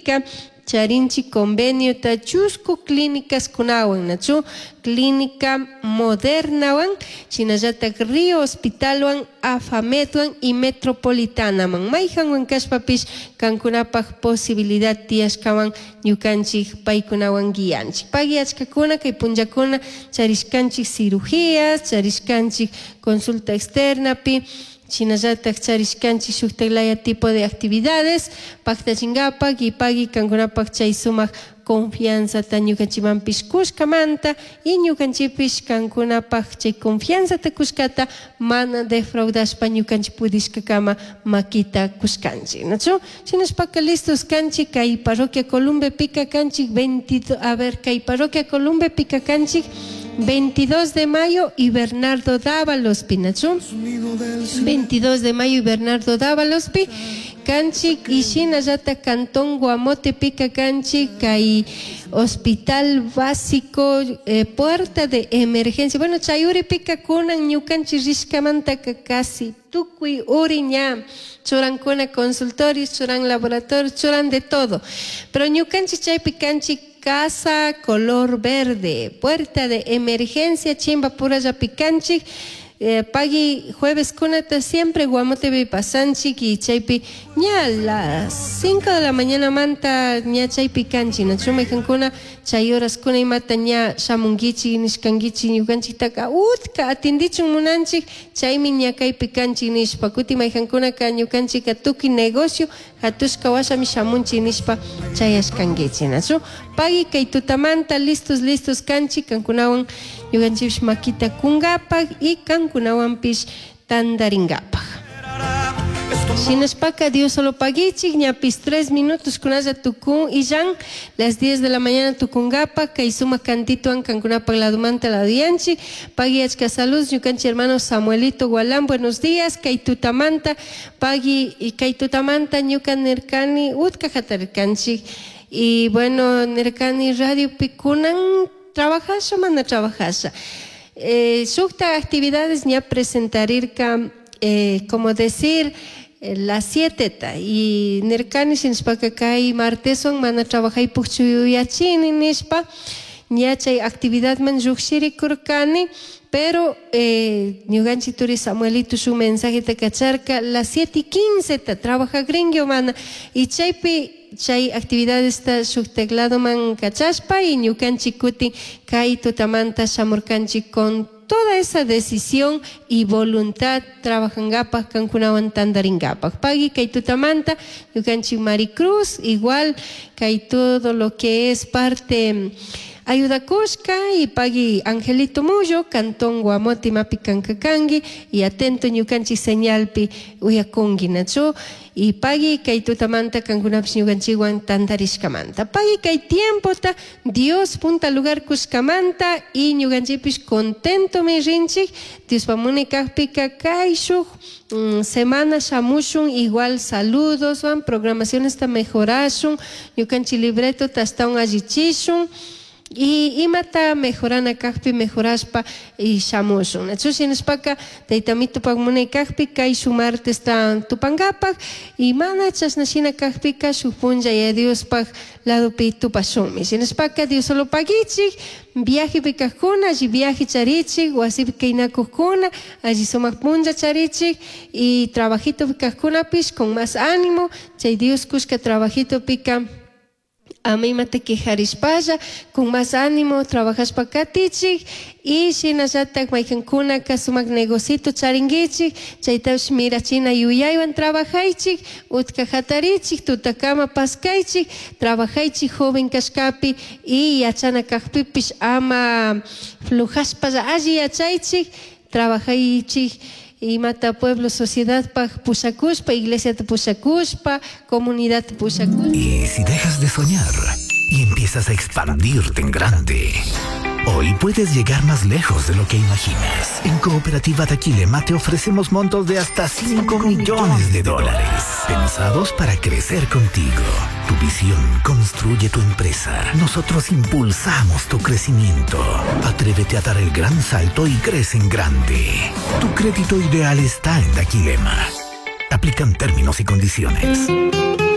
Pika charinchik conveniota chusku clínicaskunawan, nachu? Clínica Modernawan, shinallatak Río Hospitalwan, Afamedwan y Metropolitanaman. Mayhanwan kashpapish kankunapaj posibilidad tiyashkawan ñukanchik paykunawan guianchik. Pagui achkakuna kay punllakuna charishkanchik cirugías, charishkanchik consulta externapi, shinallatak charishkanchik shuktak laya tipo de actividades paktachinkapak y pagui kankunapak chay sumak confianzata ñukanchikmanpish kushkamanta y ñukanchikpish kankunapak chay confianzata kushkata mana defraudashpa ñukanchik pudishkakama makita kushkanchik, nachu? Shinashpaka listos kanchik kay parroquia Columbepika kanchik 22, a ver, kay parroquia Columbepika kanchik 22 de mayo y Bernardo Dávalos, nachu? 22 de mayo y Bernardo Dávalos pi kanchik y shinallata Cantón Guamote pika kanchik kay Hospital Básico, puerta de emergencia. Bueno, chay uripika kunan ñukanchik rishkamantaka casi tukuy uri ña churankuna consultorios, churan laboratorios, churan de todo. Pero ñukanchik chaypi kanchik casa color verde, puerta de emergencia chimbapurallapi kanchik. Pagui jueves kunata siempre Guamotepi pasanchik y chaypi ña las 5 de la mañana manta ña chaypi kanchik, nachu? Maykankuna chay horas kuna imata ña shamunkichik nishkankichik ñukanchiktaka utka atindichun munanchik chaymi ña kaypi kanchik nishpa. Kuti maykankunaka ñukanchika tukuy negocio hatushka washami shamunchik nishpa chayashkankichik, nachu? Pagui kay tutamanta listos listos kanchik kankunawan ñukanchikpish makita kunkapak y kankunawanpish tandarinkapak. Shinashpaka Dios solo paguichik ñapis 3 minutos kunalla tukun illan las 10 de la mañana tukunkapak kay sumak cantituan kankunapak ladumanta laduyanchik. Pagui achka salud ñukanchik hermano Samuelito Gualán, buenos días. Kay tutamanta pagui y kay tutamanta ñuka nirkani utka hatarirkanchik y bueno nirkani radiopi kunan trabajasha mana trabajasha. Shukta actividades ña presentarirka, como decir, las 7 ta y nirkani shinashpaka kay marteswan mana trabajaypukchu yuyachini nishpa ña chay actividadman llukshirikurkani, pero ñukanchik turi Samuelito shuk mensajeta kacharka las 7:15 ta trabajakrinki o mana y chaypi chay actividadesta shuk tecladoman kachashpa y ñukanchik kutin kay tutamanta shamurkanchik con toda esa decisión y voluntad trabajangapak kankunawan tandaringapak. Pagui kay tutamanta ñukanchik Maricruz igual kay todo lo que es parte ayudakushka y pagui Angelito Mullo, Cantón Guamote mapi kankakangi y atento ñukanchik señalpi uyakunki, nachu? Y pagui kay tutamanta kankunapish ñukanchikwan tantarishkamanta. Pagui kay tiempota Dios punta lugar kushkamanta y ñukanchikpish contentomi rinchik. Diospa munay kajpika kay shuk semana shamushun igual saludos wan programacionesta mejorashun ñukanchik libretota astawan allichishun y imata mejorana kajpi mejorashpa y shamushun. Nachu shinashpaka taytamitupak munay kajpi kay shuk martesta tupankapak y mana chashna shina kajpika shuk punlla Yaya Diospaj ladopi tupashunmi. Shinashpaka Dios solo paguichik viajepi kajkuna alli viaje charichik wasipi kaynakujkuna alli sumak punlla charichik y trabajitopi kajkunapish con más ánimo chay Dios kushka trabajitopika ama imata quejarishpalla con más ánimo trabajashpa katichik y shinallatak maykankunaka sumak negocito charinkichik chaytapish mirachina yuyaywan trabajaychik utka hatarichik tutakama paskaychik trabajaychik joven kashkapi y yachana kajpipish ama flujashpalla alli yachaychik trabajaychik imata pueblo sociedadpaj pushakushpa iglesiata pushakushpa comunidad pushakushpa. Y si dejas de soñar y empiezas a expandirte en grande, hoy puedes llegar más lejos de lo que imaginas. En Cooperativa Daquilema te ofrecemos montos de hasta 5 millones de dólares, pensados para crecer contigo. Tu visión construye tu empresa. Nosotros impulsamos tu crecimiento. Atrévete a dar el gran salto y crece en grande. Tu crédito ideal está en Daquilema. Aplican términos y condiciones.